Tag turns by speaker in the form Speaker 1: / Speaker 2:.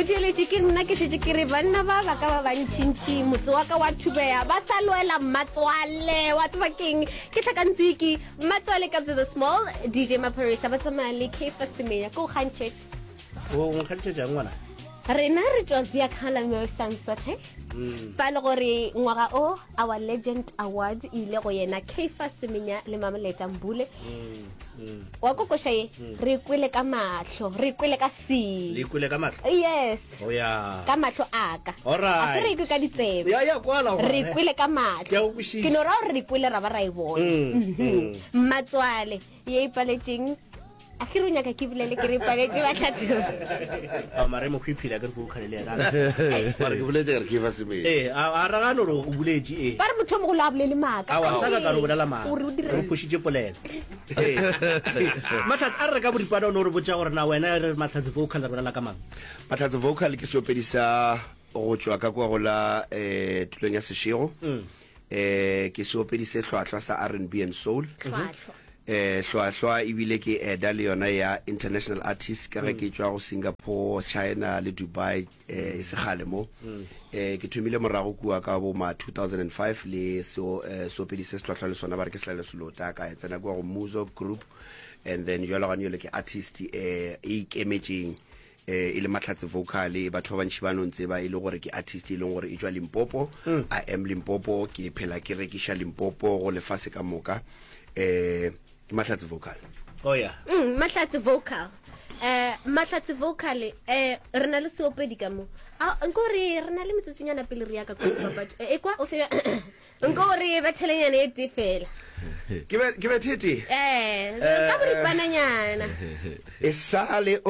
Speaker 1: Motheeletši ke nna ke šetše ke re banna ba ba ka ba bantšintši motse wa ka wa thubea ba sa lwela mmatswale wa tseba keng ke tlhakantswe ke mmatswale Kabza the Small DJ Maphorisa ba tsamaya le Kefa Semenya ko kgantšhetše
Speaker 2: O nkgantšhetšang ngwana?
Speaker 1: Rena re tšwa Ziakhala mo Sansothe mm. fa e le gore ngwaga o our legend awards e ile go yena Kefa Semenya le Mameleta Mbule mm, mm. wa kokoša ye re kwele ka mahlo re kwele ka
Speaker 2: See. Le kwele ka mahlo?
Speaker 1: Yes.
Speaker 2: Oh ya.
Speaker 1: Ka mahlo a ka.
Speaker 2: Alright.
Speaker 1: A se re kwe ka ditsebe.
Speaker 2: Ya ya kwala
Speaker 1: gona. Re kwele ka mahlo.
Speaker 2: Ke a go kwešiša.
Speaker 1: Ke no ra gore re kwele ra ba ra e bona.
Speaker 2: Mm,
Speaker 1: Mhm.
Speaker 2: mm.
Speaker 1: Mmatswale ye ipaletšeng a ke re o nyaka ke bolele ke re ipaletše bahlatho.
Speaker 2: A mare mokgwiphila ke re vocal le yena.
Speaker 3: Mara ke boletše ka re ke fa semelo.
Speaker 2: Ee, a a ragano gore o boletše ee.
Speaker 1: Ba re motho o mogolo a bolele maaka.
Speaker 2: Aowa, sa ka ka re o bolela maaka.
Speaker 1: O re o
Speaker 2: Re phošitše polelo. Mahlatse a re re ka boripana o no re botša gore na wena re Mahlatse vocal re bolela ka mang?
Speaker 3: Mahlatse vocal ke seopedi sa go tšwa ka kwa go la eh, tulong ya Seshego.
Speaker 2: Mm.
Speaker 3: Eh, ke seopedi se hlwahlwa sa R&B and soul.
Speaker 1: Hlwahlwa.
Speaker 3: Eh, hlwahlwa ebile ke eda le yona ya international artist ka ge ke tšwa go Singapore, China le Dubai eh, e se kgale mo mm. eh, ke thomile morago kua ka bo ma 2005 le seo eh, seopedi se se tlhwahlwa le sona ba re ke Selalelo Selota ka e tsena kua go Muzo Group and then jalo gane yole ke artist eh, e ikemetšeng eh, e le mahlatse vocal batho ba bantši ba no ntseba e le gore ke artist e leng gore e tšwa Limpopo mm. I am Limpopo ke phela ke rekiša Limpopo go lefase ka moka eh Ke Mahlatse Vocal.
Speaker 2: Oh yeah.
Speaker 1: Mm, Mahlatse Vocal. Eh Mahlatse Vocal eh re na le seopedi ka mo. A nko re re na le metsotsonyana pele re ya ka kwa dipapadi. E kwa o se nko re bethelenyana e tee fela.
Speaker 3: Ke be ke bethete.
Speaker 1: Eh ka boripananyana.
Speaker 3: E sale o.